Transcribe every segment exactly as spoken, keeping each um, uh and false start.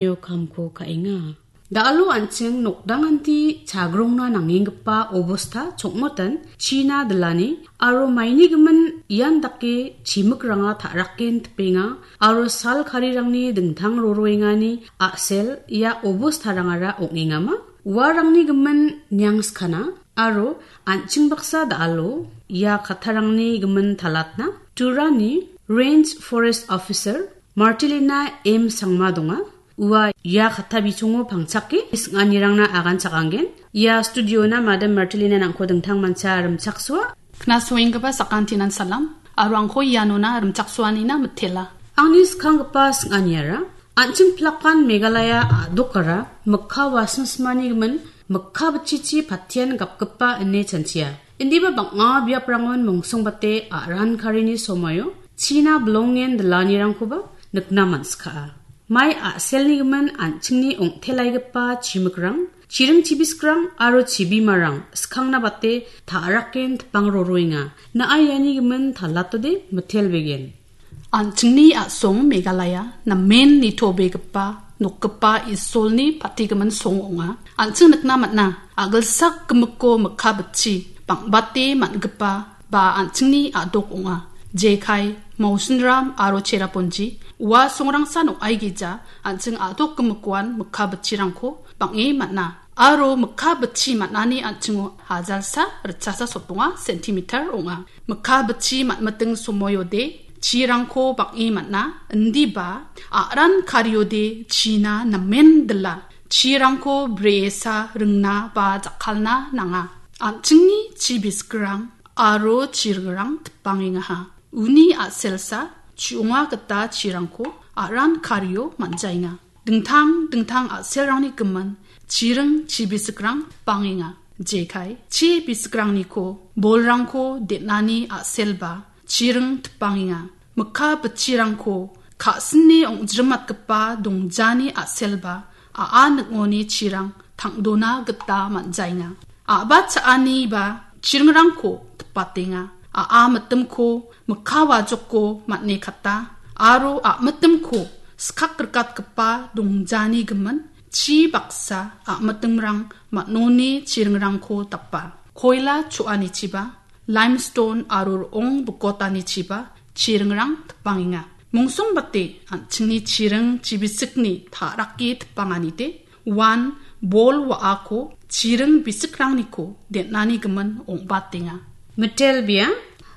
Io kamko ka·enga. Da·alo an·ching nokdanganti chagrongna nangenggipa obosta chongmotan china dilani aro maini gimin ian dake chimikranga ta·raken tipenga aro sal karirangni dingtang roroengani a·sel ia obostarangara ong·engama? Uarangni gimin niangskana aro an·ching baksa da·alo ia kattarangni gimin talatna Turani Range Forest Officer Martilina M Sangma donga. Ua ia katta bichongo pangchake sing·anirangna agan chakanggen. Ia studiona Madam Martilina nangko dingtang mancha rimchaksoa. Knasoenggipa sakantinan salam, aro angko ianona rimchaksoanina mitela. Angni skanggipa sing·aniara, an·ching plakan Meghalaya a·dokara mikka wasing simani gimin mikka bitchichi patian gapgipa ine chanchia. Indiba bang·a biaprangon mongsongbate a·ran karini somoio china bilongen dilanirangkoba nikna man·skaa. Mai a·selni gimin an·chingni ong·telaigipa chimikrang, chiring chibiskrang aro chibimarang skangna bate ta·raken tipang roroenga. Na·a iani gimin talatode mitelbegen. An·chingni a·song Meghalaya namen nitobegipa nokgipa Isolni patigimin song ong·a. An·ching nikna man·a, a·gilsak gimikko mikka bitchi bang·bate man·gipa ba an·chingni a·dok ong·a. Jekai, Mausinram aro Cherrapunji ua songrangsan ong·aigija an·ching a·dok gimikkoan mikka bitchirangko bang·e man·a. Aro mikka bitchi man·ani an·chingo hajalsa ritchasa sotbonga centimeter ong·a. Mikka bitchi man·miting somoiode chirangko bang·e man·a, indiba a·ran kariode china namen dila. Chirangko bresa ringna ba jakkalna nanga. An·chingni chi bisikrang aro chiringrang tipangengaha. Uni a·selsa chu·onga gita chirangko a·ran kario man·jaenga. Dingtang dingtang a·selrangni gimin chiring chi bisikrang tipangenga. Jekai chi bisikrangniko bolrangko den·ani a·selba chiring tipangenga. Mikka bitchirangko ka·sini ong·jrimatgipa dongjani a·selba a·a ning·oni chirang tang·dona gita man·jaenga. A·ba cha·ani ba chiringrangko tipatenga. A·a mitimko mikka wajoko man·e kata aro a·mitimko skak rikatgipa dongjani gimin chi baksa a·mitimrang man·oni chiringrangko dapa. Koila cho·anichiba, limestone aro ro·ong bikotanichiba chiringrang tipangenga. Mongsongbate an·chingni chiring chibisikni ta·rake tipanganide uan bol wa·ako chiring bisikrangniko den·ani gimin ong·batenga. Mitelbea,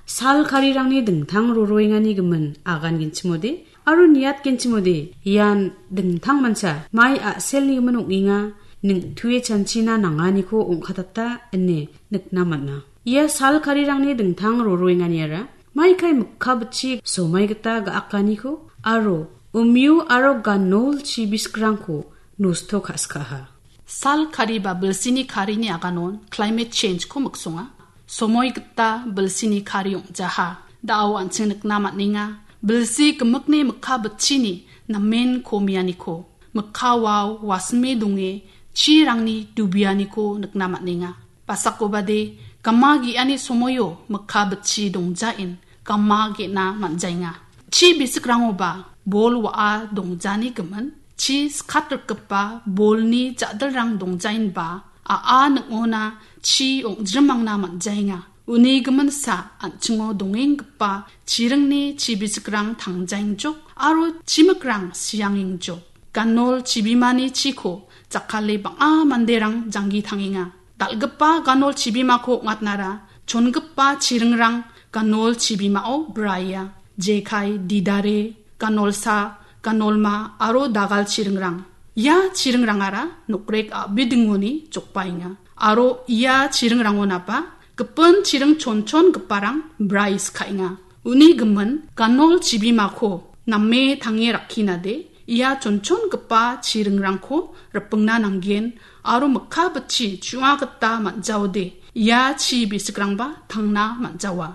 sal karirangni dingtang roroengani gimin agangenchimode aro niatgenchimode ian dingtang mancha mai a·selni gimin ong·enga, ning·tue chanchina nanganiko ong·katata ine nikna man·a. Ia sal karirangni dingtang roroenganiara maikai mikka bitchi somai gita ga·akaniko aro umyu aro ganol chi bisikrangko nosto ka·skaha. Sal kari ba bilsini karini aganon climate change-ko miksonga. Somoi gita bilsini kari ong·jaha. Da·o an·ching nikna man·enga. Bilsi gimikni mikka bitchini namen komianiko. Mikka wao wasime donge chirangni dubianiko nikna man·enga. Basakobade gama ge·ani somoio mikka bitchi dongjaen gama ge·na man·jaenga. Chi bisikrangoba bol wa·a dongjani gimin, chi skat rikgipa bolni ja·dilrang dongjaenba a·a ning·ona chi ong·jrimangna man·jaenga. Uni giminsa an·chingo dongenggipa chiringni chi bisikrang tangjaengjok aro chimikrang siangengjok. Ganol chibimani chiko jakkale bang·a manderang janggi tangenga. Dal·gipa ganol chibimako ong·atnara chongipa chiringrang ganol chibimao braia. Jekai, Didare, Ganolsa, Ganolma aro Dagal chiringrang. Ia chiringrangara nokrek a·bidingoni jokbaenga. Aro ia chiringrangonaba gipin chiring chonchongiparang brais ka·enga. Uni gimin ganol chibimako name tange rakkinade ia chonchongipa chiringrangko ripingna nanggen aro mikka bitchi chu·a gita man·jaode ia chi bisikrangba tangna man·jawa.